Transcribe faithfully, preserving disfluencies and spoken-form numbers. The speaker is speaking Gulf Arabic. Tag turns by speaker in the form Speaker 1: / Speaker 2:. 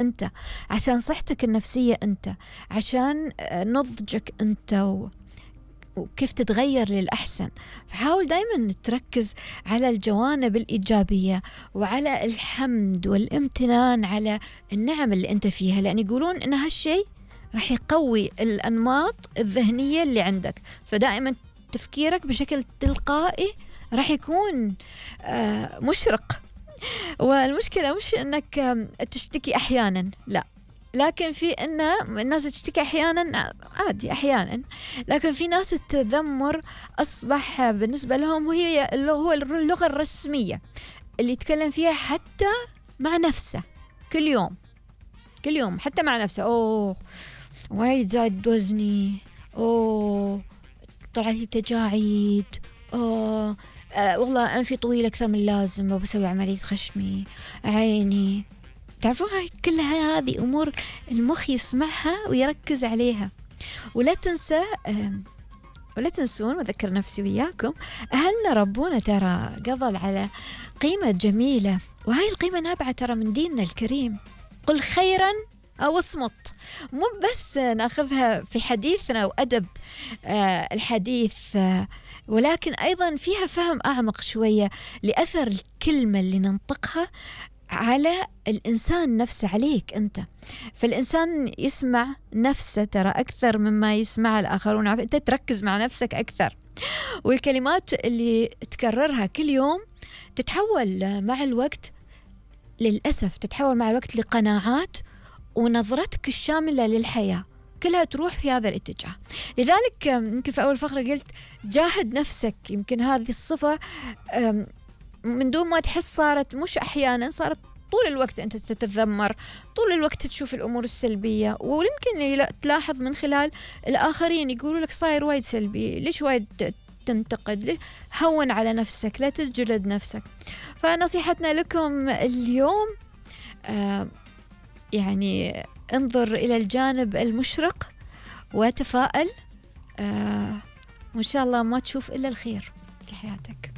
Speaker 1: أنت، عشان صحتك النفسية أنت، عشان نضجك أنت و... وكيف تتغير للأحسن. فحاول دايما تركز على الجوانب الإيجابية وعلى الحمد والامتنان على النعم اللي أنت فيها، لأن يقولون إن هالشيء راح يقوي الأنماط الذهنية اللي عندك. فدائما تفكيرك بشكل تلقائي راح يكون مشرق. والمشكلة مش إنك تشتكي أحيانا، لا، لكن في إن الناس تشتكي أحيانا عادي أحيانا، لكن في ناس التذمر أصبح بالنسبة لهم وهي هو اللغة الرسمية اللي يتكلم فيها حتى مع نفسه كل يوم كل يوم حتى مع نفسه. أوه وايد زاد وزني، أوه طلعت لي تجاعيد، أوه أه والله أنفي طويل أكثر من اللازم وبسوي عملية خشمي، عيني. تعرفون هاي كلها هذه أمور المخ يسمعها ويركز عليها. ولا تنسى أه ولا تنسون، وذكر نفسي وياكم، أهلنا ربونا ترى قبل على قيمة جميلة، وهاي القيمة نابعة ترى من ديننا الكريم، قل خيرا أو اصمت. مو بس ناخذها في حديثنا وأدب آه الحديث، آه ولكن أيضا فيها فهم أعمق شوية لأثر الكلمة اللي ننطقها على الإنسان نفسه، عليك أنت. فالإنسان يسمع نفسه ترى أكثر مما يسمع الآخرون، أنت تركز مع نفسك أكثر. والكلمات اللي تكررها كل يوم تتحول مع الوقت، للأسف تتحول مع الوقت لقناعات، ونظرتك الشاملة للحياة كلها تروح في هذا الاتجاه. لذلك يمكن في أول فقرة قلت جاهد نفسك. يمكن هذه الصفة من دون ما تحس صارت، مش أحيانا، صارت طول الوقت أنت تتذمر، طول الوقت تشوف الأمور السلبية. ويمكن تلاحظ من خلال الآخرين يقولوا لك صاير وايد سلبي، ليش وايد تنتقد، ليش؟ هون على نفسك، لا تجلد نفسك. فنصيحتنا لكم اليوم آه يعني انظر إلى الجانب المشرق وتفائل، آه وإن شاء الله ما تشوف إلا الخير في حياتك.